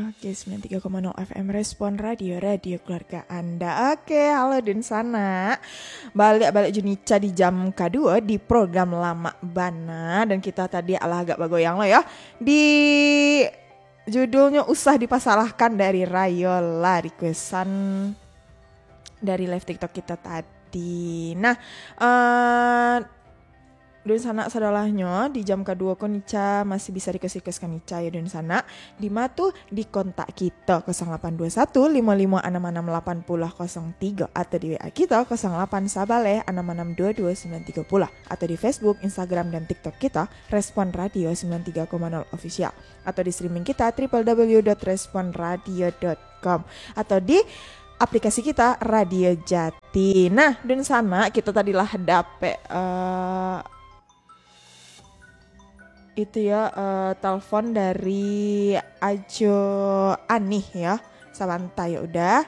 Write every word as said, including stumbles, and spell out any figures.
Oke, sembilan tiga koma nol F M Respon Radio, radio keluarga Anda. Oke, halo dunsanak. Baliak-baliak jo Nica di jam kaduo di program Lamak Bana. Dan kita tadi alah agak bagoyang lo yo. Di judulnyo Usah Dipasalahkan dari Rayola, requestan dari live TikTok kita tadi. Nah, eh, dunsanak sadolahnyo, di jam kaduo ko Nica masih bisa request-request ka Nica yo dunsanak. Di ma tu? Di kontak kita kosong lapan dua satu limo limo anam anam lapan puluh kosong tigo atau di W A kita kosong lapan sabaleh anam anam dua dua sembilan tigo puluh atau di Facebook, Instagram, dan TikTok kita Respon Radio sembilan tiga koma nol Official atau di streaming kita triple W dot respon radio dot com atau di aplikasi kita Radio Jati. Nah, dunsanak, kita tadi lah dapek, eh, itu ya, eh, telepon dari Ajo Anih ya. Sabanta ya udah.